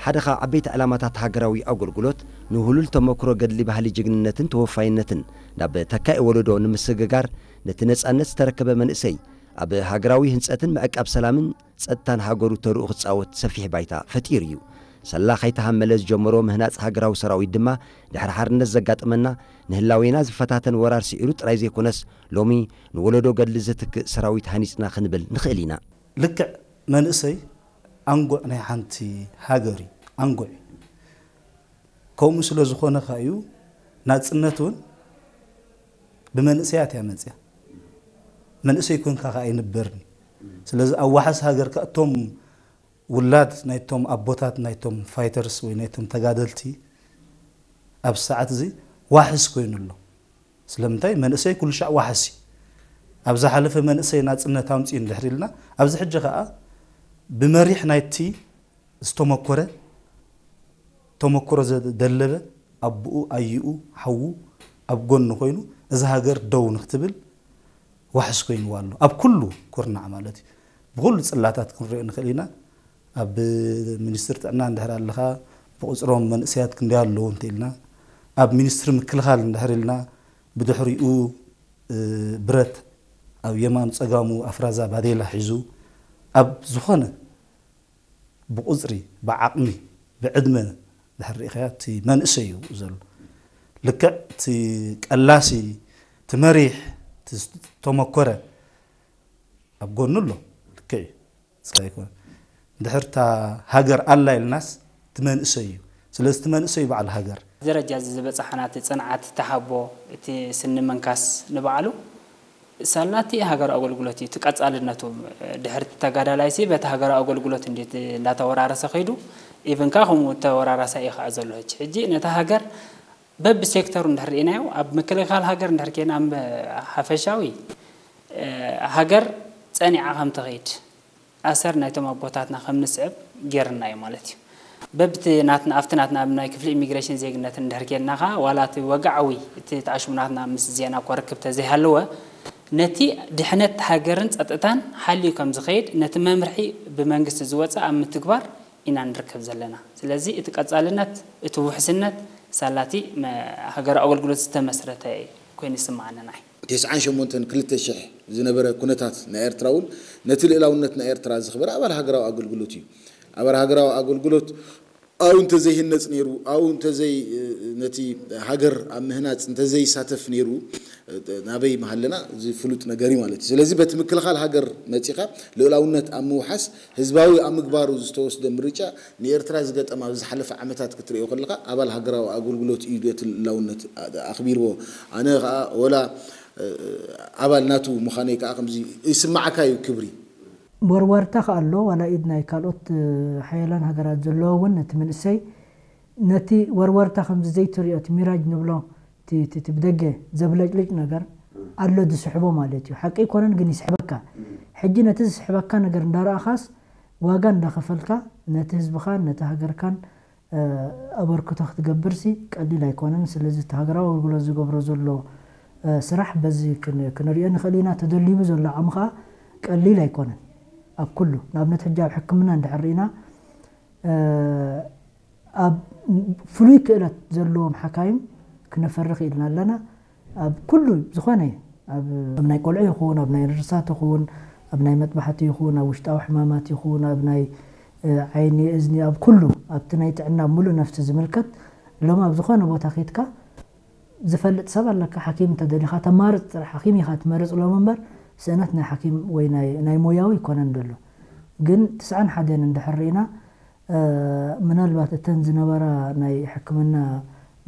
ሓደ ካብ ዓበይቲ ዕላማታት ሃገራዊ ኣገልግሎት፣ ንውህሉል ተመክሮ ገድሊ ባህሊ ጅግንነትን ተወፋይነትን ናብ ተካኢ ወለዶ ንምስግጋር፣ ነቲ ነጻነት ዝተረከበ መንእሰይ ኣብ ሃገራዊ ህንጸትን ምዕቃብ ሰላምን ጸጥታን ሃገሩ ተርኡ ክጻወት ሰፊሕ ባይታ ፈጢሩ እዩ። ሰላ ከይተሃመለ ዝጀመሮ ምህናጽ ሃገራዊ ሰራዊት ድማ፣ ድሕሪ ሓርነት ዘጋጠመና፣ ንህላዌና ዝፈታተን ወራር ስዒሩ ጥራይ ዘይኮነስ፣ ሎሚ ንወለዶ ገድሊ ዝትክእ ሰራዊት ሃኒጽና ክንብል ንኽእል ኢና። ልክዕ መንእሰይ ኣንጉዕ ናይ ሓንቲ ሃገር እዩ። ኣንጉዕ እዩ። ከምኡ ስለ ዝኾነ ከኣ እዩ ናጽነት እውን ብመንእሰያት እያ መጽያ። መንእሰይ ኮንካ ከኣ ኣይንበርን። ስለዚ ኣብ ዋሕስ ሃገር ከኣ እቶም ውላድ ናይቶም ኣቦታት ናይቶም ፋይተርስ ወይ ናይቶም ተጋደልቲ ኣብ ሰዓት እዚ ዋሕስ ኮይኑ ኣሎ። ስለምንታይ መንእሰይ ኩሉ ሻዕ ዋሕስ እዩ። ኣብ ዝሓለፈ መንእሰይ ናጽነት ኣምጽኡ እንድሕር ኢልና፣ ኣብዚ ሕጂ ከኣ ብመሪሕ ናይቲ ዝተመኮረ፣ ተመኮሮ ዘደለበ ኣቦኡ፣ ኣይኡ፣ ሓዉ ኣብ ጎኒ ኮይኑ፣ እዛ ሃገር ደው ንክትብል ዋሕስ ኮይንዋ ኣሎ። ኣብ ኩሉ ኩርናዕ ማለት እዩ። ብኩሉ ጽላታት ክንሪኦ ንኽእል ኢና። ኣብ ሚኒስትሪ ጥዕና እንድሕር ኣለኻ፣ ብቁጽሮም መንእሰያት ክንደይ ኣለዉ እንተ ኢልና፣ ኣብ ሚኒስትሪ ምክልኻል እንድሕር ኢልና፣ ብድሕሪኡ፣ እ፣ ብረት ኣብ የማኑ ጸጋሙ ኣፍራዛ ባዴላ ሒዙ፣ ኣብ ዝኾነ ብቁጽሪ፣ ብዓቕሚ፣ ብዕድመ ድሕር ርኢኻዮ፣ እቲ መንእሰይ እዩ ዘሎ። ልክዕ እቲ ቀላሲ፣ እቲ መሪሕ፣ እቲ ዝተመኮረ ኣብ ጎኑ ኣሎ። ልክዕ እዩ። እስካ ኣይኮነ። ድሕር እታ ሃገር ኣላ ኢልናስ፣ እቲ መንእሰይ እዩ። ስለዚ እቲ መንእሰይ እዩ በዓል ሃገር። ደረጃ እዚ ዝበጻሕና፣ እቲ ጽንዓት፣ እቲ ሓቦ፣ እቲ ስኒ ምንካስ ንባዕሉ፣ ሳላቲ ሃገራዊ ኣገልግሎት እዩ። እቲ ቀጻልነቱ፣ ድሕሪ እቲ ተጋዳላይሲ በቲ ሃገራዊ ኣገልግሎት እንዴት እንዳተወራረሰ ከይዱ፣ ኢቭን ከኣ ከምኡ ተወራራሳይ እዩ ከኣ ዘሎ። ሕጂ፣ ሕጂ ነታ ሃገር በብሴክተሩ እንድሕር ርኢናዮ፣ ኣብ ምክልኻል ሃገር እንድሕር ኬና፣ ኣብ ሓፈሻዊ፣ እ፣ ሃገር ጸኒዓ ከም ትኸይድ፣ ኣሰር ናይቶም ኣቦታትና ከም ንስዕብ ጌርና እዩ ማለት እዩ። በብቲ ናትና፣ ኣብቲ ናትና፣ ኣብ ናይ ክፍሊ ኢሚግሬሽን ዜግነት እንድሕር ኬድና ኸኣ፣ ዋላ እቲ ወግዓዊ፣ እቲ ተኣሽሙ ናትና ምስ ዜና እኳ ርክብ ተዘይሃለወ፣ ነቲ ድሕነት ሃገርን ጸጥታን ሓልዩ ከም ዝኸይድ፣ ነቲ መምርሒ ብመንግስቲ ዝወጸ ኣብ ምትግባር ኢና ንርከብ ዘለና። ስለዚ እቲ ቀጻልነት፣ እቲ ውሕስነት፣ ሳላቲ መ-፣ ሃገራዊ ኣገልግሎት ዝተመስረተ ኮይኑ ይስምዓኒ ንዓይ። ተስዓን ሸሞንተን ክልተ ሽሕ ዝነበረ ኩነታት ናይ ኤርትራ እውን ነቲ ልእላውነት ናይ ኤርትራ ዘኽበረ ኣባል ሃገራዊ ኣገልግሎት እዩ። ኣባል ሃገራዊ ኣገልግሎት ኣብኡ እንተዘይህነጽ ነይሩ፣ ኣብኡ እንተዘይ-፣ ነቲ ሃገር ኣብ ምህናጽ እንተዘይሳተፍ ነይሩ፣ ናበይ ምሃለና እዚ ፍሉጥ ነገር እዩ ማለት እዩ። ስለዚ በቲ ምክልኻል ሃገር መጺኻ ልኡላውነት ኣብ ምውሓስ ህዝባዊ ኣብ ምግባሩ ዝተወስደ ምርጫ ንኤርትራ ዝገጠማ ኣብ ዝሓለፈ ዓመታት ክትርእዮ ከለኻ ኣባል ሃገራዊ ኣገልግሎት እዩ ነቲ ልኡላውነት ኣኽቢርዎ። ኣነ ኸኣ ወላ፣ እ፣ ኣባል ናቱ ምዃነይ ከኣ ከምዚ ይስምዓካ እዩ ክብሪ። ወርወርታ ከኣ ኣሎ፣ ዋላ ኢድ ናይ ካልኦት፣ እ፣ ሓያላን ሃገራት ዘለዎ እውን ነቲ መንእሰይ ነቲ ወርወርታ ከምዚ ዘይትርእዮ፣ እቲ ሚራጅ ንብሎ፣ እቲ፣ እቲ፣ እቲ ብደገ ዘብለጭልጭ ነገር ኣሎ ዝስሕቦ ማለት እዩ። ሓቂ ኣይኮነን ግን ይስሕበካ። ሕጂ ነቲ ዝስሕበካ ነገር እንዳረኣኻስ ዋጋ እንዳኸፈልካ ነቲ ህዝብኻን ነቲ ሃገርካን፣ እ፣ ኣበርክቶ ክትገብርሲ ቀሊል ኣይኮነን። ስለዚ እቲ ሃገራዊ ኣገልግሎት ዝገብሮ ዘሎ፣ እ፣ ስራሕ በዚ ክን-፣ ክንሪኦ ንኽእል ኢና። ተደሊቡ ዘሎ ዓቕሚ ኸኣ ቀሊል ኣይኮነን። ኣብ ኩሉ፣ ንኣብነት ሕጂ ኣብ ሕክምና እንድሕር ርኢና፣ እ፣ ኣብ ፍሉይ ክእለት ዘለዎም ሓካይም ክነፈሪ ክኢልና ኣለና። ኣብ ኩሉ ዝኾነ፣ ኣብ፣ ኣብ ናይ ቆልዑ ይኹን፣ ኣብ ናይ ነርሳት ይኹን፣ ኣብ ናይ መጥባሕቲ ይኹን፣ ኣብ ውሽጣዊ ሕማማት ይኹን፣ ኣብ ናይ፣ እ፣ ዓይኒ፣ እዝኒ፣ ኣብ ኩሉ፣ ኣብቲ ናይ ጥዕና ምሉእ ነፍሲ ዝምልከት፣ ሎሚ ኣብ ዝኾነ ቦታ ኬድካ ዝፈልጥ ሰብ ኣለካ፣ ሓኪም እንተደሊኻ ተማርጽ ጥራሕ፣ ሓኪም ኢኻ ትመርጽ ሎም እምበር፣ ስእነት ናይ ሓኪም ወይ ናይ፣ ናይ ሞያዊ ኣይኮነን ዘሎ። ግን ትስዓን ሓደን እንድሕር ርኢና፣ እ፣ ምናልባት እተን ዝነበራ ናይ ሕክምና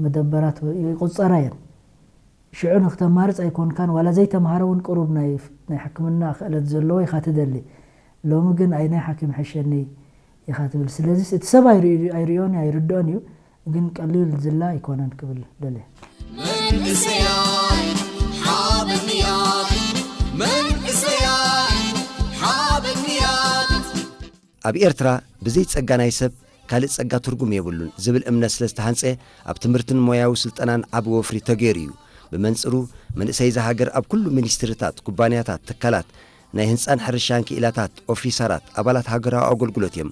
መደበራት ይቁጸራ እየን። ሽዑ ንክተማርጽ ኣይኮንካን፣ ዋላ ዘይተምሃረ እውን ቅሩብ ናይ፣ ናይ ሕክምና ክእለት ዘለዎ ኢኻ ትደሊ። ሎሚ ግን ኣይ ናይ ሓኪም ሕሸኒ ኢኻ ትብል። ስለዚስ እቲ ሰብ ኣይርኢ-፣ ኣይርእዮን እዩ፣ ኣይርድኦን እዩ፣ ግን ቀሊል ዝላ ኣይኮነን ክብል ደልየ። መንእሰያት ሓበንያት፣ መንእሰያት ሓበንያት። ኣብ ኤርትራ ብዘይ ጸጋ ናይ ሰብ ካልእ ጸጋ ትርጉም የብሉን ዝብል እምነት ስለ ዝተሃንጸ፣ ኣብ ትምህርትን ሞያዊ ስልጠናን ዓቢ ወፍሪ ተገይሩ እዩ። ብመንጽሩ፣ መንእሰይ እዛ ሃገር ኣብ ኩሉ ሚኒስትሪታት፣ ኩባንያታት፣ ትካላት፣ ናይ ህንጻን ሕርሻን ክኢላታት፣ ኦፊሰራት፣ ኣባላት ሃገራዊ ኣገልግሎት እዮም።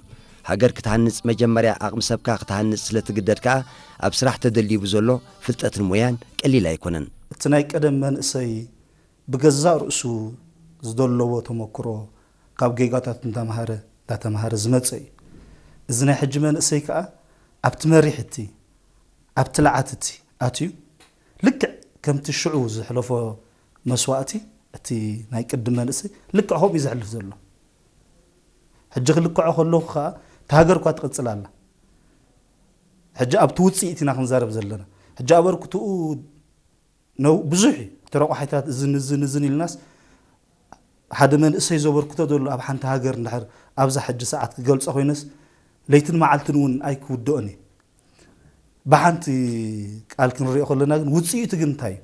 ሃገር ክትሃንጽ መጀመርያ ዓቕሚ ሰብካ ክትሃንጽ ስለ ትግደድ ከኣ ኣብ ስራሕ ተደልዩ ብዘሎ ፍልጠትን ሞያን ቀሊል ኣይኮነን። እቲ ናይ ቀደም መንእሰይ ብገዛእ ርእሱ ዝደለዎ ተመክሮ ካብ ጌጋታት እንዳምሃረ እንዳተምሃረ ዝመጸ እዩ። እዚ ናይ ሕጂ መንእሰይ ከኣ ኣብቲ መሪሕ እቲ ኣብቲ ልዓት እቲ ኣትዩ ልክዕ ከምቲ ሽዑ ዘሕለፎ መስዋእቲ እቲ ናይ ቅድም መንእሰይ ልክዕ ከምኡ እዩ ዘሕልፍ ዘሎ። ሕጂ ክልክዖ ከለኹ ከኣ እታ ሃገር እኳ ትቕጽል ኣላ። ሕጂ ኣብቲ ውጽኢት ኢና ክንዛረብ ዘለና። ሕጂ ኣበርክትኡ ነው ብዙሕ እዩ። እቲ ረቋሒታት እዝን እዝን እዝን ኢልናስ ሓደ መንእሰይ ዘበርክቶ ዘሎ ኣብ ሓንቲ ሃገር እንድሕር ኣብዛ ሕጂ ሰዓት ክገልጾ ኮይነስ ለይትን መዓልትን እውን ኣይክውድኦን እዩ። ብሓንቲ ቃል ክንሪኦ ከለና ግን ውጽኢቱ ግን እንታይ እዩ?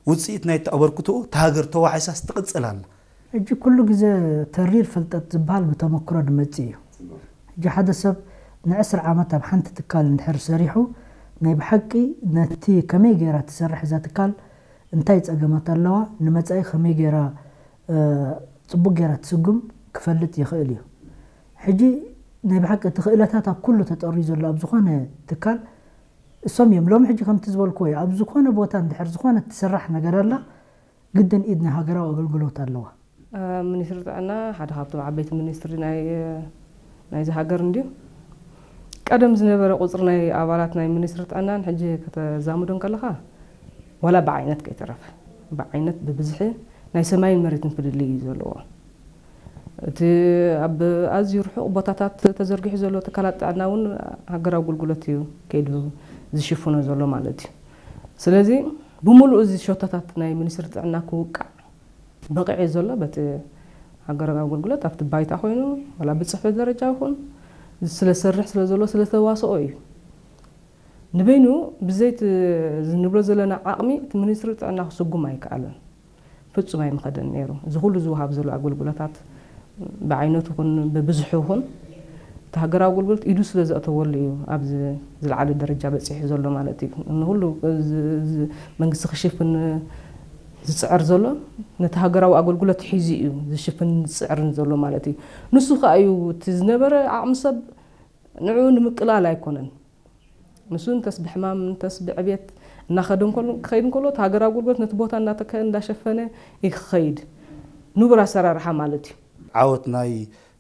ውጽኢት ናይ ኣበርክትኡ እታ ሃገር ተዋሒሳስ ትቕጽል ኣላ። ሕጂ ኩሉ ግዜ ተሪር ፍልጠት ዝበሃል ብተመክሮ ዝመጽእ እዩ። ሕጂ ሓደ ሰብ ንዕስራ ዓመት ኣብ ሓንቲ ትካል እንድሕር ሰሪሑ ናይ ብሓቂ ነቲ ከመይ ገይራ ትሰርሕ እዛ ትካል እንታይ ጸገማት ኣለዋ፣ ንመጻኢ ከመይ ገይራ፣ እ፣ ጽቡቕ ገይራ ትስጉም ክፈልጥ ይኽእል እዩ። ሕጂ ናይ ብሓቂ እቲ ክእለታት ኣብ ኩሉ ተጠርዩ ዘሎ ኣብ ዝኾነ ትካል እሶም እዮም። ሎሚ ሕጂ ከምቲ ዝበልክዎ እዩ። ኣብ ዝኾነ ቦታ እንድሕር ዝኾነ ትስራሕ ነገር ኣላ፣ ግድን ኢድ ናይ ሃገራዊ ኣገልግሎት ኣለዋ። እ፣ ሚኒስትሪ ጥዕና ሓደ ካብቶም ዓበይቲ ሚኒስትሪ ናይ፣ ናይዚ ሃገር እንድዩ። ቀደም ዝነበረ ቁጽሪ ናይ ኣባላት ናይ ሚኒስትሪ ጥዕናን ሕጂ ከተዛምዶ እንከለኻ፣ ዋላ ብዓይነት ከይተረፈ፣ ብዓይነት ብብዝሒ ናይ ሰማይን መሬትን ፍልልይ እዩ ዘለዎ። እቲ ኣብ ኣዝዩ ርሑቕ ቦታታት ተዘርጊሑ ዘሎ ትካላት ጥዕና እውን ሃገራዊ ኣገልግሎት እዩ ከይዱ ዝሽፍኖ ዘሎ ማለት እዩ። ስለዚ ብምሉኡ እዚ ሸቶታት ናይ ሚኒስትሪ ጥዕና ክውቃዕ በቒዑ ዘሎ በቲ ሃገራዊ ኣገልግሎት ኣብቲ ባይታ ኮይኑ ዋላ ብጽሕፈት ደረጃ ይኹን ስለ ሰርሕ ስለ ዘሎ ስለ ተዋስኦ እዩ። ንበይኑ ብዘይቲ ዝንብሎ ዘለና ዓቕሚ እቲ ሚኒስትሪ ጥዕና ክስጉም ኣይከኣለን። ፍጹም ኣይምኸደን ነይሩ። እዚ ኩሉ ዝወሃብ ዘሎ ኣገልግሎታት ብዓይነቱ ይኹን ብብዝሑ ይኹን እቲ ሃገራዊ ኣገልግሎት ኢዱ ስለ ዘእተወሉ እዩ ኣብዚ ዝለዓለ ደረጃ በጺሑ ዘሎ ማለት እዩ። ንኹሉ እዚ፣ እዚ መንግስቲ ክሽፍን ዝጽዕር ዘሎ ነቲ ሃገራዊ ኣገልግሎት ሒዙ እዩ ዝሽፍን ዝጽዕርን ዘሎ ማለት እዩ። ንሱ ከኣ እዩ እቲ ዝነበረ ዓቕሚ ሰብ ንዕኡ ንምቅላል ኣይኮነን። ንሱ እንተስ ብሕማም እንተስ ብዕብየት እናኸደ እንከሎ፣ ክኸይድ እንከሎ እቲ ሃገራዊ ኣገልግሎት ነቲ ቦታ እናተክአ እንዳሸፈነ እዩ ክኸይድ። ንቡር ኣሰራርሓ ማለት እዩ። ዓወት ናይ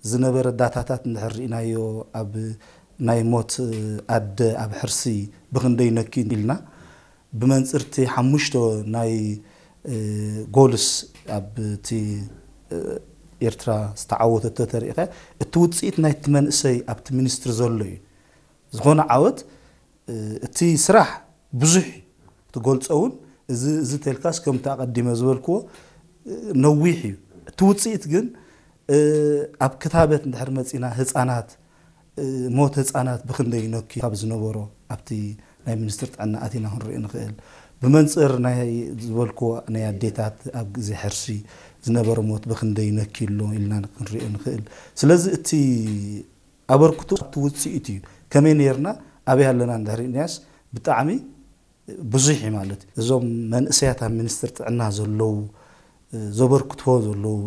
ዝነበረ ዳታታት እንድሕር ርኢናዮ ኣብ ናይ ሞት ኣደ ኣብ ሕርሲ ብኽንደይ ነኪ ኢልና ብመንጽርቲ ሓሙሽተ ናይ፣ እ፣ ጎልስ ኣብ እቲ፣ እ፣ ኤርትራ ዝተዓወተቶ ተሪኢኻ እቲ ውጽኢት ናይቲ መንእሰይ ኣብቲ ሚኒስትሪ ዘሎ እዩ። ዝኾነ ዓወት፣ እ፣ እቲ ስራሕ ብዙሕ እዩ። ትገልጾ እውን እዚ፣ እዚ ተልካስ ከምቲ ኣቐዲመ ዝበልክዎ፣ እ፣ ነዊሕ እዩ። እቲ ውጽኢት ግን፣ እ፣ ኣብ ክታበት እንድሕር መጺና ህጻናት፣ እ፣ ሞት ህጻናት ብኽንደይ ነኪ ካብ ዝነበሮ ኣብቲ ናይ ሚኒስትሪ ጥዕና ኣቲና ክንርኢ ንኽእል። ብመንጽር ናይ ዝበልክዎ ናይ ኣዴታት ኣብ ግዜ ሕርሲ ዝነበረ ሞት ብኽንደይ ነኪ ኣሎ ኢልና ክንርኢ ንኽእል። ስለዚ እቲ ኣበርክቶ ኣብቲ ውጽኢት እዩ። ከመይ ነይርና ኣበይ ኣለና እንድሕር ርኢናስ ብጣዕሚ ብዙሕ እዩ ማለት እዩ። እዞም መንእሰያት ኣብ ሚኒስትሪ ጥዕና ዘለዉ፣ እ፣ ዘበርክትዎ ዘለዉ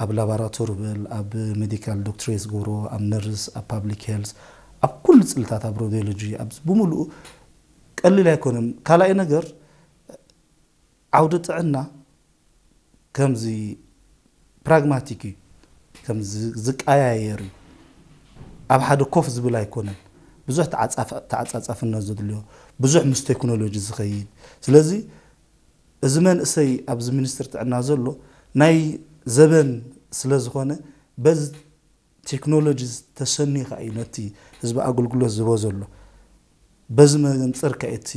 ኣብ ላቦራቶሪ በል፣ ኣብ ሜዲካል ዶክትሬት ዝገብርዎ፣ ኣብ ነርስ፣ ኣብ ፓብሊክ ሄልስ፣ ኣብ ኩሉ ጽልታት፣ ኣብ ሮዲዮሎጂ፣ ኣብ ብምሉኡ ቀሊል ኣይኮነን። ካልኣይ ነገር ዓውዲ ጥዕና ከምዚ ፕራግማቲክ እዩ፣ ከምዚ ዝቀያየር እዩ። ኣብ ሓደ ኮፍ ዝብል ኣይኮነን። ብዙሕ ተዓጻፍ-፣ ተዓጻጻፍነት ዘድልዮ፣ ብዙሕ ምስ ቴክኖሎጂ ዝኸይድ። ስለዚ እዚ መንእሰይ ኣብዚ ሚኒስትሪ ጥዕና ዘሎ ናይ ዘበን ስለ ዝኾነ በዚ ቴክኖሎጂ ተሰንዩ ከኣ እዩ ነቲ ህዝቢ ኣገልግሎት ዝህቦ ዘሎ። በዚ መንጽር ከኣ እቲ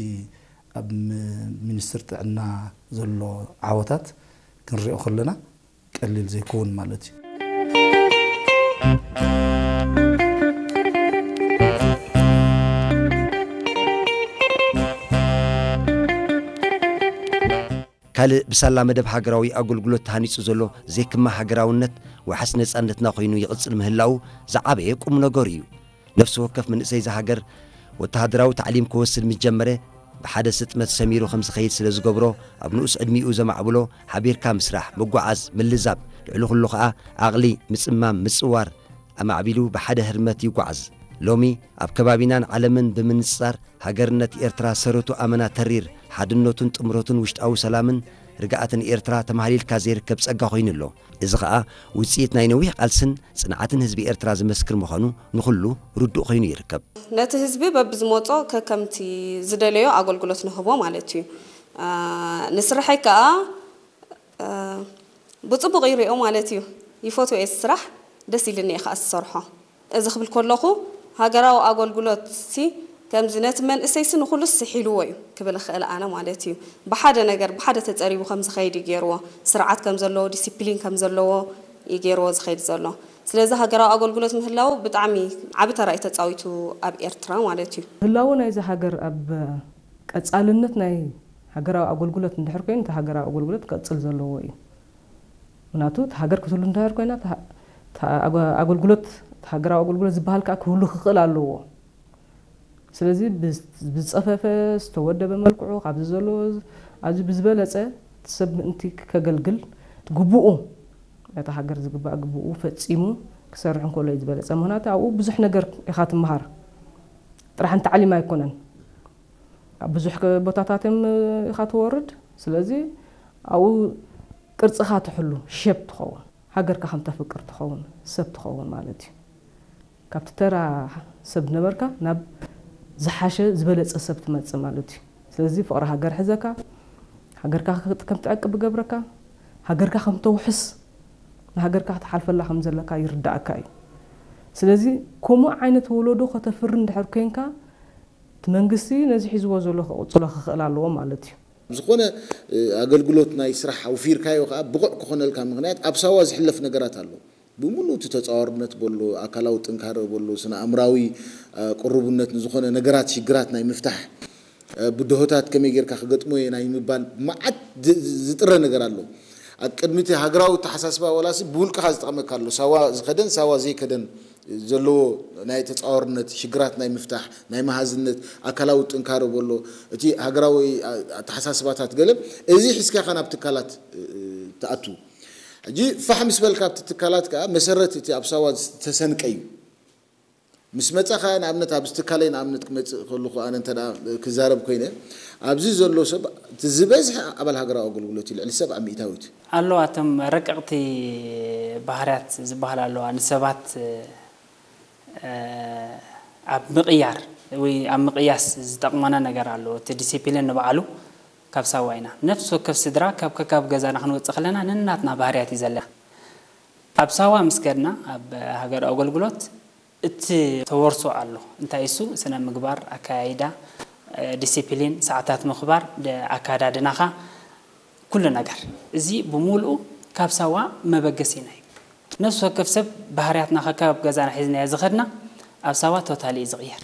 ኣብ ም-፣ ሚኒስትሪ ጥዕና ዘሎ ዓወታት ክንሪኦ ከለና ቀሊል ዘይከውን ማለት እዩ። ካልእ ብሳላ መደብ ሃገራዊ ኣገልግሎት ተሃኒጹ ዘሎ ዘይክማ ሃገራውነት ዋሕስ ነጻነትና ኮይኑ ይቕጽል ምህላዉ ዝዓበየ ቁም ነገሩ እዩ። ነፍሲ ወከፍ መንእሰይ እዛ ሃገር ወተሃደራዊ ታዕሊም ክወስድ ምስ ጀመረ፣ ብሓደ ስጥመት ሰሚሩ ከም ዝኸይድ ስለ ዝገብሮ፣ ኣብ ንኡስ ዕድሚኡ ዘማዕብሎ ሓቢርካ ምስራሕ፣ ምጉዓዝ፣ ምልዛብ፣ ልዕሊ ኩሉ ኸኣ ዓቕሊ፣ ምጽማም፣ ምጽዋር፣ ኣማዕቢሉ ብሓደ ህርመት ይጓዓዝ። ሎሚ ኣብ ከባቢናን ዓለምን ብምንጽጻር ሃገርነት ኤርትራ ሰረቱ ኣመና ተሪር፣ ሓድነቱን ጥምረቱን ውሽጣዊ ሰላምን ርግኣትን ኤርትራ ተማህሊልካ ዘይርከብ ጸጋ ኮይኑ ኣሎ። እዚ ኸኣ ውጽኢት ናይ ነዊሕ ቃልስን ጽንዓትን ህዝቢ ኤርትራ ዝመስክር ምዃኑ ንኹሉ ርዱእ ኮይኑ ይርከብ። ነቲ ህዝቢ በብዝመጾ ከከምቲ ዝደለዮ ኣገልግሎት ንህቦ ማለት እዩ። ንስርሐይ ከኣ ብጽቡቕ ይሪኦ ማለት እዩ። ይፈትዎ እየ ስራሕ፣ ደስ ኢልኒ እየ ከኣ ዝሰርሖ። እዚ ክብል ከለኹ ሃገራዊ ኣገልግሎት ሲ ከምዚ ነቲ መንእሰይ ሲ ንኹሉ ስሒልዎ እዩ ክብል እኽእል ኣነ ማለት እዩ። ብሓደ ነገር ብሓደ ተጸሪቡ ከም ዝኸይድ እዩ ገይርዎ። ስርዓት ከም ዘለዎ፣ ዲሲፕሊን ከም ዘለዎ እዩ ገይርዎ ዝኸይድ ዘሎ። ስለዚ ሃገራዊ ኣገልግሎት ምህላው ብጣዕሚ ዓቢ ተራ እዩ ተጻዊቱ ኣብ ኤርትራ ማለት እዩ። ህላወ ናይዚ ሃገር ኣብ ቀጻልነት ናይ ሃገራዊ ኣገልግሎት እንድሕር ኮይኑ እቲ ሃገራዊ ኣገልግሎት ክቐጽል ዘለዎ እዩ። ምክንያቱ እቲ ሃገር ክትህሉ እንድሕር ኮይና ኣገልግሎት፣ ሃገራዊ ኣገልግሎት ዝበሃል ከዓ ክህሉ ክኽእል ኣለዎ። ስለዚ ብዝፀፈፈ ዝተወደበ መልክዑ ካብዚ ዘሎ ኣብዚ ብዝበለፀ ሰብ ምእንቲ ከገልግል ግቡኡ ነታ ሃገር ዝግባእ ግቡኡ ፈፂሙ ክሰርሕ እንከሎ እዩ ዝበለፀ። ምክንያቱ ኣብኡ ብዙሕ ነገር ኢኻ ትመሃር። ጥራሕ እንተዓሊም ኣይኮነን። ኣብ ብዙሕ ቦታታት እዮም ኢኻ ትወርድ። ስለዚ ኣብኡ ቅርፅኻ ትሕሉ፣ ሸፕ ትኸውን፣ ሃገርካ ከም ተፍቅር ትኸውን፣ ሰብ ትኸውን ማለት እዩ። ካብቲ ተራ ሰብ ነበርካ ናብ ዝሓሸ ዝበለፀ ሰብ ትመፅእ ማለት እዩ። ስለዚ ፍቕሪ ሃገር ሕዘካ፣ ሃገርካ ከም ትዕቅብ ይገብረካ፣ ሃገርካ ከም ተውሕስ፣ ንሃገርካ ክትሓልፈላ ከም ዘለካ ይርዳእካ እዩ። ስለዚ ከምኡ ዓይነት ወለዶ ከተፍሪ እንድሕር ኮይንካ እቲ መንግስቲ ነዚ ሒዝዎ ዘሎ ክቕፅሎ ክኽእል ኣለዎ ማለት እዩ። ዝኾነ ኣገልግሎት ናይ ስራሕ ኣውፊርካዮ ከዓ ብቑዕ ክኾነልካ ምኽንያት ኣብ ሳዋ ዝሕለፍ ነገራት ኣሎ። ብምሉእ እቲ ተፃዋርነት በሎ ኣካላዊ ጥንካረ በሎ ስነ ኣእምራዊ ቅርቡነት ንዝኾነ ነገራት ሽግራት ናይ ምፍታሕ ብድሆታት ከመይ ጌርካ ክገጥሞ እየ ናይ ምባል መዓት ዝጥረ ነገር ኣሎ። ኣብ ቅድሚ እቲ ሃገራዊ ኣተሓሳስባ ዋላሲ ብውልቅኻ ዝጠቕመካ ኣሎ። ሳዋ ዝኸደን ሳዋ ዘይከደን ዘለዎ ናይ ተፃዋርነት ሽግራት ናይ ምፍታሕ ናይ መሃዝነት ኣካላዊ ጥንካረ በሎ እቲ ሃገራዊ ኣተሓሳስባታት ገለ እዚ ሒዝካ ኢኻ ናብ ትካላት ትኣቱ። ሕጂ ፋሕ ምስ በልካ ኣብቲ ትካላት ከዓ መሰረት እቲ ኣብ ሳዋ ዝተሰንቀ እዩ። ምስ መፃ ከዓ ንኣብነት ኣብዚ ትካለይ ንኣብነት ክመፅእ ከለኹ ኣነ እንተ ክዛረብ ኮይነ ኣብዚ ዘሎ ሰብ እቲ ዝበዝሐ ኣባል ሃገራዊ ኣገልግሎት እዩ ልዕሊ ሰብዓ ሚእታዊት። ኣለዋ እቶም ረቀቕቲ ባህርያት ዝበሃል ኣለዋ ንሰባት ኣብ ምቕያር ወይ ኣብ ምቕያስ ዝጠቕመና ነገር ኣሎ። እቲ ዲሲፕሊን ንባዕሉ ካብ ሳዋ ኢና። ነፍሲ ወከፍ ስድራ ካብ ከካብ ገዛና ክንወፅእ ከለና ነናትና ባህርያት እዩ ዘለና። ኣብ ሳዋ ምስ ከድና ኣብ ሃገር ኣገልግሎት እቲ ተወርሶ ኣሎ። እንታይ እሱ ስነ ምግባር፣ ኣካያይዳ፣ ዲሲፕሊን፣ ሰዓታት ምኽባር፣ ኣካዳድናኻ ኩሉ ነገር እዚ ብሙሉኡ ካብ ሳዋ መበገሲና እዩ። ነፍሲ ወከፍ ሰብ ባህርያትና ከካብ ገዛና ሒዝናዮ ዝኸድና ኣብ ሳዋ ቶታሊ እዩ ዝቕየር።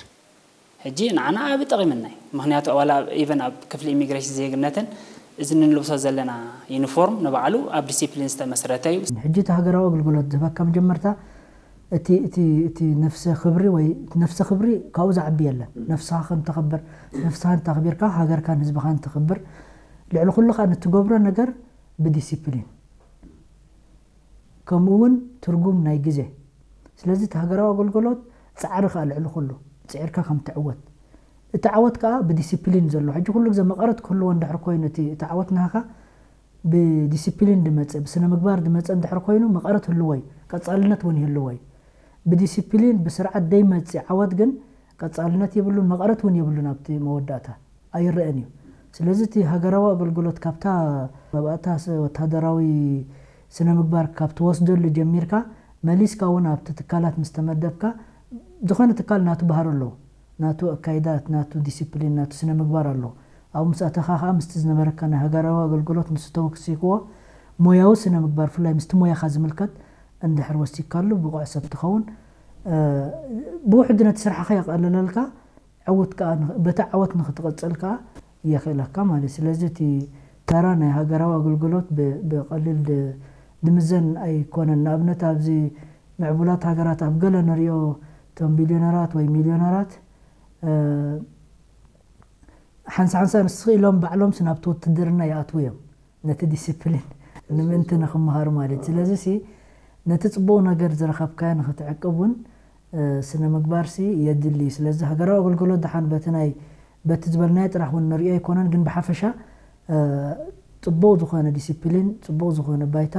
ሕጂ ንዓና ዓቢ ጠቒምና እዩ። ምኽንያቱ ዋላ ኢቨን ኣብ ክፍሊ ኢሚግሬሽን ዜግነትን እዚ ንንልብሶ ዘለና ዩኒፎርም ንባዕሉ ኣብ ዲሲፕሊን ዝተመስረተ እዩ። ሕጂ እቲ ሃገራዊ ኣገልግሎት ዝህበካ መጀመርታ እቲ እቲ እቲ ነፍሰ ክብሪ ወይ ነፍሰ ክብሪ ካብኡ ዝዓቢ የለን። ነፍስኻ ከም ተኸብር ነፍስኻ እንተ ኣኽቢርካ ሃገርካን ህዝብኻን ተኽብር። ልዕሊ ኩሉ ከዓ ንትገብሮ ነገር ብዲሲፕሊን ከምኡ እውን ትርጉም ናይ ግዜ። ስለዚ እቲ ሃገራዊ ኣገልግሎት ፃዕሪ ከዓ ልዕሊ ኩሉ ፅዒርካ ከም ትዕወት። እቲ ዓወት ከዓ ብዲሲፕሊን ዘሎ ሕጂ ኩሉ ግዜ መቐረት ክህልዎ እንድሕር ኮይኑ እቲ እቲ ዓወት ናሃካ ብዲሲፕሊን ድመፀ ብስነ ምግባር ድመፀ እንድሕር ኮይኑ መቐረት ህልዎ እዩ። ቀፃልነት እውን ይህልዎ እዩ። ብዲሲፕሊን ብስርዓት ደይመፅእ ዓወት ግን ቀፃልነት የብሉን መቐረት እውን የብሉን ኣብቲ መወዳእታ። ኣይረአን እዩ። ስለዚ እቲ ሃገራዊ ኣገልግሎት ካብታ መባእታ ወታደራዊ ስነ ምግባር ካብ ትወስደሉ ጀሚርካ መሊስካ እውን ኣብቲ ትካላት ምስ ተመደብካ ዝኾነ ትካል ናቱ ባህሪ ኣለዎ። ናቱ ኣካይዳት፣ ናቱ ዲሲፕሊን፣ ናቱ ስነ ምግባር ኣለዎ። ኣብኡ ምስ ኣተኻ ከዓ ምስቲ ዝነበረካ ናይ ሃገራዊ ኣገልግሎት ንሱ ተወሲኽዎ ሞያዊ ስነ ምግባር ብፍላይ ምስቲ ሞያኻ ዝምልከት እንድሕር ወሲኽካሉ ብቑዕ ሰብ ትኸውን። ብውሕዱ ነቲ ስራሕኻ የቐልለልካ። ዕውት ከዓ በቲ ዓወት ንክትቕፅል ከዓ የኽእለካ ማለት እዩ። ስለዚ እቲ ተራ ናይ ሃገራዊ ኣገልግሎት ብቐሊል ድምዘን ኣይኮነን። ንኣብነት ኣብዚ ምዕቡላት ሃገራት ኣብ ገለ ንሪኦ እቶም ቢልዮነራት ወይ ሚልዮነራት ሓንሳ ሓንሳ ንስኽ ኢሎም ባዕሎምስ ናብቲ ውትድርና ይኣትዉ እዮም። ነቲ ዲስፕሊን ንምእንቲ ንክምሃሩ ማለት እዩ። ስለዚ ሲ ነቲ ጽቡቕ ነገር ዝረኸብካዮ ንኽትዕቅብ እውን ስነ ምግባርሲ የድሊ። ስለዚ ሃገራዊ ኣገልግሎት ደሓን በቲ ናይ በቲ ዝበልናዮ ጥራሕ እውን ንርእዮ ኣይኮነን፣ ግን ብሓፈሻ ጽቡቕ ዝኾነ ዲሲፕሊን፣ ጽቡቕ ዝኾነ ባይታ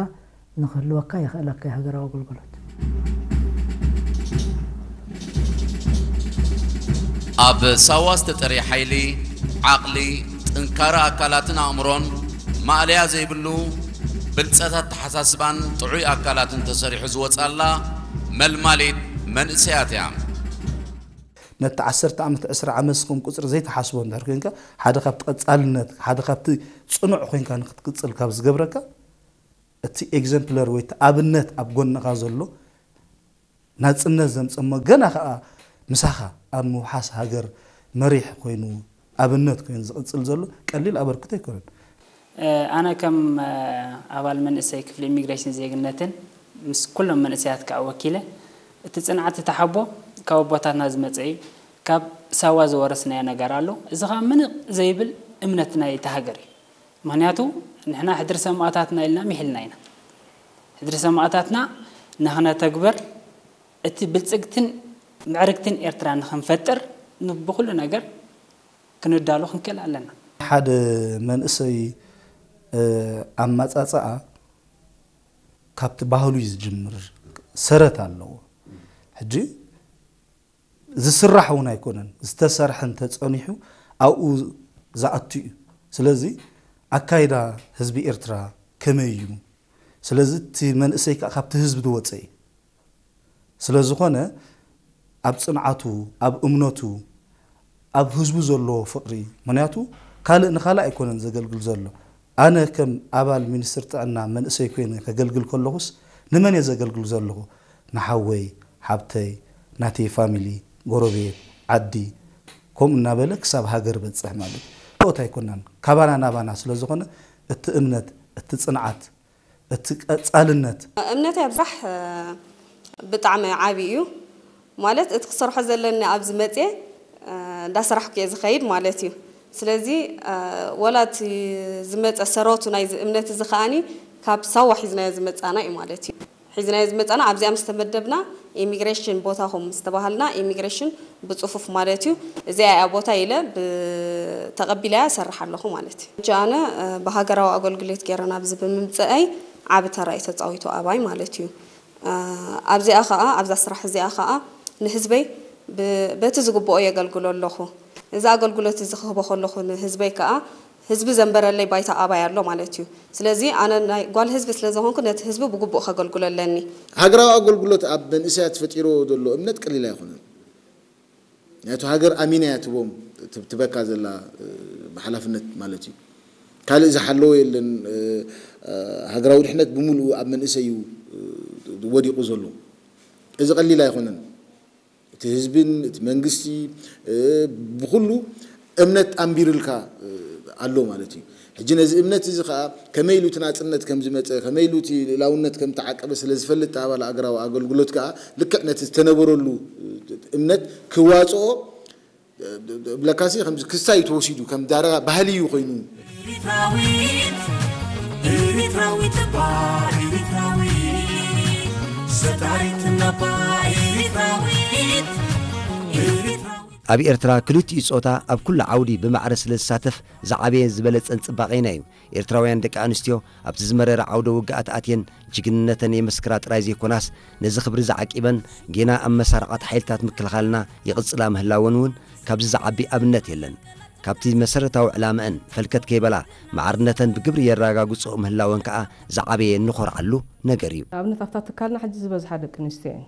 ንኽህልወካ የኽእለካ ሃገራዊ ኣገልግሎት። ኣብ ሳዋ ዝተጠርየ ሓይሊ፣ ዓቕሊ፣ ጥንካረ ኣካላትን ኣእምሮን፣ ማእለያ ዘይብሉ ብልጸት ኣተሓሳስባን ጥዑይ ኣካላትን ተሰሪሑ ዝወጻላ መልማሊት መንእሰያት እያ። ነቲ ዓሰርተ ዓመት፣ ዕስራ ዓመት ስኹም ቁጽሪ ዘይትሓስቦ እንድሕር ኮይንካ፣ ሓደ ካብቲ ቀጻልነት፣ ሓደ ካብቲ ጽኑዕ ኮይንካ ንክትቅጽል ካብ ዝገብረካ፣ እቲ ኤግዘምፕለር ወይ እቲ ኣብነት ኣብ ጎንኻ ዘሎ ናጽነት ዘምጸሞ፣ ገና ከኣ ምሳኻ ኣብ ምውሓስ ሃገር መሪሕ ኮይኑ ኣብነት ኮይኑ ዝቕጽል ዘሎ ቀሊል ኣበርክቶ ኣይኮነን። ኣነ ከም ኣባል መንእሰይ ክፍሊ ኢሚግሬሽን ዜግነትን ምስ ኩሎም መንእሰያት ከኣ ወኪለ፣ እቲ ጽንዓት እቲ ሓቦ ካብ ኣቦታትና ዝመጸ እዩ። ካብ ሳዋ ዝወረስናዮ ነገር ኣሎ። እዚ ከኣ ምንቕ ዘይብል እምነት ናይ እታ ሃገር እዩ። ምኽንያቱ ንሕና ሕድሪ ሰማእታትና ኢልና ሚሒልና ኢና። ሕድሪ ሰማእታትና ንኽነተግብር፣ እቲ ብልጽግትን ምዕርግትን ኤርትራ ንኽንፈጥር ብኹሉ ነገር ክንዳሎ ክንክእል ኣለና። ሓደ መንእሰይ ኣማጻጽኣ ካብቲ ባህሉ እዩ ዝጅምር፣ ሰረት ኣለዎ። ሕጂ ዝስራሕ እውን ኣይኮነን፣ ዝተሰርሐ እንተጸኒሑ ኣብኡ ዝኣቱ እዩ። ስለዚ ኣካይዳ ህዝቢ ኤርትራ ከመይ እዩ? ስለዚ እቲ መንእሰይ ከዓ ካብቲ ህዝቢ ዝወፀ እዩ። ስለ ዝኾነ ኣብ ፅንዓቱ፣ ኣብ እምነቱ፣ ኣብ ህዝቡ ዘለዎ ፍቕሪ፣ ምኽንያቱ ካልእ ንኻልእ ኣይኮነን ዘገልግል ዘሎ። ኣነ ከም ኣባል ሚኒስትሪ ጥዕና መንእሰይ ኮይነ ከገልግል ከለኹስ ንመን እየ ዘገልግል ዘለኹ? ንሓወይ፣ ሓብተይ፣ ናተይ ፋሚሊ፣ ጎረቤት፣ ዓዲ፣ ከምኡ እናበለ ክሳብ ሃገር በፅሕ ማለት እዩ። ካልኦት ኣይኮናን፣ ካባና ናባና ስለ ዝኾነ እቲ እምነት፣ እቲ ፅንዓት፣ እቲ ቀፃልነት። እምነተይ ኣብዛሕ ብጣዕሚ ዓብዪ እዩ። ማለት እቲ ክሰርሖ ዘለኒ ኣብዚ መፅየ እንዳሰራሕኩ እየ ዝኸይድ ማለት እዩ። ስለዚ ወላ እቲ ዝመፀ ሰረቱ ናይዚ እምነት እዚ ከዓኒ ካብ ሳዋ ሒዝናዮ ዝመፃና እዩ ማለት እዩ። ሒዝናዮ ዝመፃና ኣብዚኣ ምስ ተመደብና ኢሚግሬሽን ቦታኹም ምስ ተባሃልና ኢሚግሬሽን ብፅፉፍ ማለት እዩ እዚኣ እያ ቦታ ኢለ ተቐቢለያ እሰርሕ ኣለኹ ማለት እዩ። ሕጂ ኣነ ብሃገራዊ ኣገልግሎት ገይረ ናብዚ ብምምፅኣይ ዓቢ ተራ እዩ ተፃዊቱ ኣባይ ማለት እዩ። ኣብዚኣ ኸዓ ኣብዛ ስራሕ እዚኣ ኸዓ ንህዝበይ በቲ ዝግብኦ የገልግሎ ኣለኹ። እዚ ኣገልግሎት እዚ ክህቦ ከለኹ ንህዝበይ ከኣ ህዝቢ ዘንበረለይ ባይታ ኣባይ ኣሎ ማለት እዩ። ስለዚ ኣነ ናይ ጓል ህዝቢ ስለ ዝኾንኩ ነቲ ህዝቢ ብግቡእ ከገልግሎ ኣለኒ። ሃገራዊ ኣገልግሎት ኣብ መንእሰያት ፈጢርዎ ዘሎ እምነት ቀሊል ኣይኮነን። ምክንያቱ ሃገር ኣሚና እያ ትቦም ትበካ ዘላ ብሓላፍነት ማለት እዩ። ካልእ ዝሓለዎ የለን። ሃገራዊ ድሕነት ብምሉኡ ኣብ መንእሰይ እዩ ወዲቑ ዘሎ። እዚ ቀሊል ኣይኮነን። እቲ ህዝብን እቲ መንግስቲ ብኩሉ እምነት ኣንቢርልካ ኣሎ ማለት እዩ። ሕጂ ነዚ እምነት እዚ ከዓ ከመይ ኢሉ እቲ ናፅነት ከም ዝመፀ፣ ከመይ ኢሉ እቲ ልእላውነት ከም ተዓቀበ ስለ ዝፈልጥ ኣባል ኣገራዊ ኣገልግሎት ከዓ ልክዕ ነቲ ዝተነበረሉ እምነት ክዋፅኦ ብለካሲ ከምዚ ክስታይ ተወሲዱ ከም ዳረጋ ባህሊ እዩ ኮይኑ። ኣብ ኤርትራ ክልቲኡ ጾታ ኣብ ኩሉ ዓውዲ ብማዕረ ስለ ዝሳተፍ ዝዓበየን ዝበለጸን ጽባቐና እዩ። ኤርትራውያን ደቂ ኣንስትዮ ኣብቲ ዝመረረ ዓውደ ውግኣት ኣትየን ጅግንነተን የመስክራ ጥራይ ዘይኮናስ ነዚ ክብሪ ዝዓቂበን ጌና ኣብ መሳርዓት ሓይልታት ምክልኻልና ይቕጽላ ምህላወን እውን ካብዚ ዝዓቢ ኣብነት የለን። ካብቲ መሰረታዊ ዕላመአን ፈልከት ከይበላ ማዕርነተን ብግብሪ የረጋግጽኦ ምህላወን ከኣ ዝዓበየ እንኾርዓሉ ነገር እዩ። ንኣብነት ኣብታ ትካልና ሕጂ ዝበዝሓ ደቂ ኣንስትዮ እየን።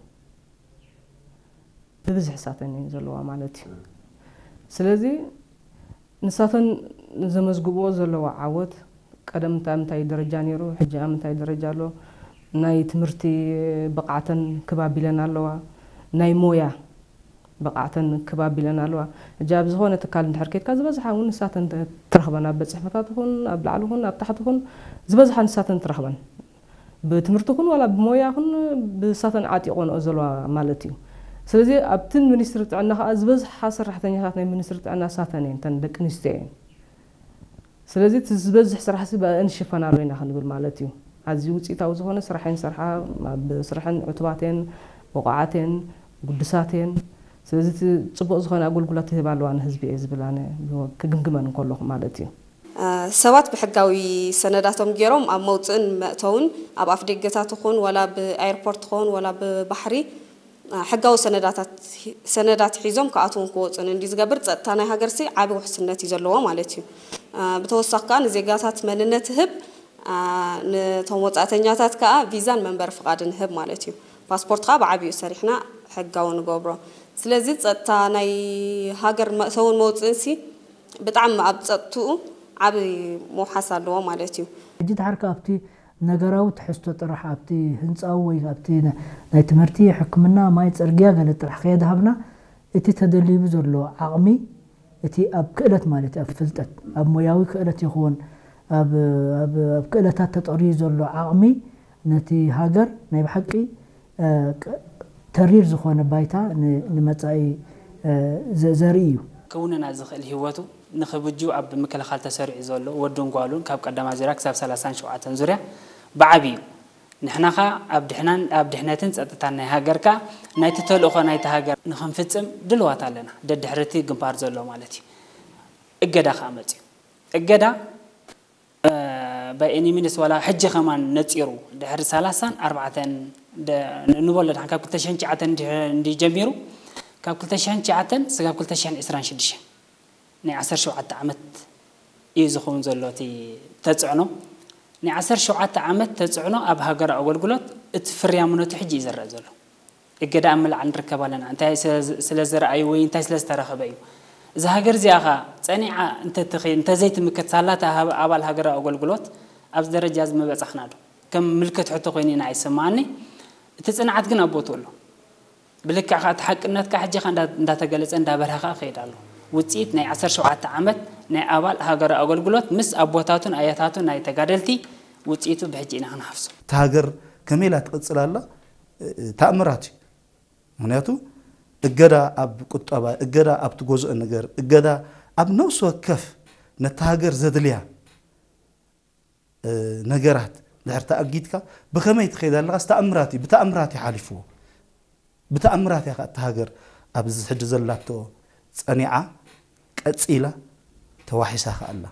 ብብዝሒ ንሳተን እየን ዘለዋ ማለት እዩ። ስለዚ ንሳተን ዘመዝግብኦ ዘለዋ ዓወት ቀደም እንታይ ምንታይ ደረጃ ነይሩ፣ ሕጂ ኣብ ምንታይ ደረጃ ኣሎ፣ ናይ ትምህርቲ ብቕዓተን ክብ ኣቢለን ኣለዋ፣ ናይ ሞያ ብቕዓተን ክብ ኣቢለን ኣለዋ። ሕጂ ኣብ ዝኾነ ትካል እንድሕር ከይድካ ዝበዝሓ እውን ንሳተን ትረኽበን፣ ኣብ ቤት ጽሕፈታት ይኹን ኣብ ላዕሊ ይኹን ኣብ ታሕቲ ይኹን ዝበዝሓ ንሳተን ትረኽበን። ብትምህርቲ ይኹን ዋላ ብሞያ ይኹን ብሳተን ዓጢቖንኦ ዘለዋ ማለት እዩ። ስለዚ ኣብቲ ሚኒስትሪ ጥዕና ከዓ ዝበዝሓ ሰራሕተኛታት ናይ ሚኒስትሪ ጥዕና ሳተን እየን፣ እተን ደቂ ኣንስትዮ እየን። ስለዚ እቲ ዝበዝሕ ስራሕሲ ብኣአን ንሽፈናሉ ኢና ክንብል ማለት እዩ። ኣዝዩ ውፅኢታዊ ዝኾነ ስራሕ እየን ዝሰርሓ። ኣብ ስርሐን ዕቱባት እየን፣ ብቑዓት እየን፣ ግዱሳት እየን። ስለዚ እቲ ፅቡቕ ዝኾነ ኣገልግሎት ይህባ ኣለዋ ንህዝቢ እየ ዝብል ኣነ ክግምግመን እንከለኹ ማለት እዩ። ሰባት ብሕጋዊ ሰነዳቶም ገይሮም ኣብ መውፅእን መእተውን ኣብ ኣፍደገታት ይኹን ዋላ ብኣየርፖርት ይኹን ዋላ ብባሕሪ ሕጋዊ ሰነዳታት ሰነዳት ሒዞም ክኣትውን ክወፁን እንዲ ዝገብር ፀጥታ ናይ ሃገርሲ ዓቢ ውሕስነት እዩ ዘለዎ ማለት እዩ። ብተወሳኺ ከዓ ንዜጋታት መንነት ህብ ነቶም ወፃእተኛታት ከዓ ቪዛን መንበሪ ፍቓድን ህብ ማለት እዩ። ፓስፖርት ከዓ ብዓብዩ ሰሪሕና ሕጋዊ ንገብሮ። ስለዚ ፀጥታ ናይ ሃገር መእተውን መውፅእንሲ ብጣዕሚ ኣብ ፀጥትኡ ዓቢ መውሓስ ኣለዎ ማለት እዩ። ሕጂ ድሓር ከኣ ኣብቲ ነገራዊ ትሕዝቶ ጥራሕ ኣብቲ ህንጻዊ ወይ ኣብቲ ና- ናይ ትምህርቲ፣ ሕክምና፣ ማይ፣ ጽርግያ ገለ ጥራሕ ከየድሃብና እቲ ተደሊቡ ዘሎ ዓቕሚ እቲ ኣብ ክእለት ማለት እዩ፣ ኣብ ፍልጠት፣ ኣብ ሞያዊ ክእለት ይኹን ኣብ ኣብ ኣብ ክእለታት ተጠርዩ ዘሎ ዓቕሚ ነቲ ሃገር ናይ ብሓቂ እ፣ ቅ- ተሪር ዝኾነ ባይታ ን- ንመጻኢ እ፣ ዘ- ዘርኢ እዩ። ክውንና ዝኽእል ህይወቱ ንኽብጅው ኣብ ምክልኻል ተሰሪዑ ዘሎ ወዱን ጓሉን ካብ ቀዳማይ ዙርያ ክሳብ ሰላሳን ሸውዓተን ዙርያ ብዓብዩ ንሕና ኸኣ ኣብ ድሕናን ኣብ ድሕነትን ጸጥታን ናይ ሃገርካ ናይቲ ተልእኾ ናይቲ ሃገር ንኽንፍጽም ድልዋት ኣለና። ደድሕርቲ ግንባር ዘሎ ማለት እዩ። እገዳ ኸኣ መጽዩ። እገዳ by any means ዋላ ሕጂ ኸማን ነጺሩ ድሕሪ ሰላሳን ኣርባዕተን ንበሎ ድሓን ካብ ክልተ ሽሕን ትሽዓተን እንዲ ጀሚሩ ካብ ክልተ ሽሕን ትሽዓተን ስጋብ ክልተ ሽሕን ዕስራን ሽዱሽተን ናይ ዓሰርተ ሸውዓተ ዓመት እዩ ዝኸውን ዘሎ እቲ ተጽዕኖ። ናይ ዓሰርተ ሸውዓተ ዓመት ተጽዕኖ ኣብ ሃገራዊ ኣገልግሎት እቲ ፍርያምነቱ ሕጂ እዩ ዝረአ ዘሎ። እገዳ ኣብ ምልዓል ንርከብ ኣለና። እንታይ ስለ- ስለ ዝረኣዩ ወይ እንታይ ስለ ዝተረኸበ እዩ? እዛ ሃገር እዚኣ ኸ ጸኒዓ እንተትኸይድ እንተዘይትምክት ሳላታ ሃብ- ኣባል ሃገራዊ ኣገልግሎት ኣብዚ ደረጃ እዚ ምበጻሕና ዶ? ከም ምልክት ሕቶ ኮይኑ ኢና ይስምዓኒ። እቲ ጽንዓት ግን ኣብ ቦትኡ ኣሎ። ብልክዕ ኸኣ እቲ ሓቅነት ከኣ ሕጂ ኸኣ እንዳ- እንዳተገለጸ እንዳበርሀ ኸኣ ይኸይድ ኣሎ። ውጽኢት ናይ ዓሰርተ ሸውዓተ ዓመት ናይ ኣባል ሃገራዊ ኣገልግሎት ምስ ኣቦታቱን ኣያታቱን ናይ ተጋደልቲ ውጽኢቱ ብሕጂ ኢና ክንሓፍሶ። እታ ሃገር ከመይ ኢላ ትቕጽል ኣላ? ተኣምራት እዩ። ምኽንያቱ እገዳ ኣብ ቁጠባ፣ እገዳ ኣብ ትገዝኦ ነገር፣ እገዳ ኣብ ነፍሲ ወከፍ ነታ ሃገር ዘድልያ እ፣ ነገራት ድሕር ተኣጊድካ ብኸመይ ትኸይድ ኣለኻስ ተኣምራት እዩ፣ ብተኣምራት እዩ ሓሊፍዎ። ብተኣምራት እያ ከኣ እታ ሃገር ኣብዚ ሕጂ ዘላቶ ጸኒዓ ቀጺላ ተዋሒሳ ከኣ ኣላ።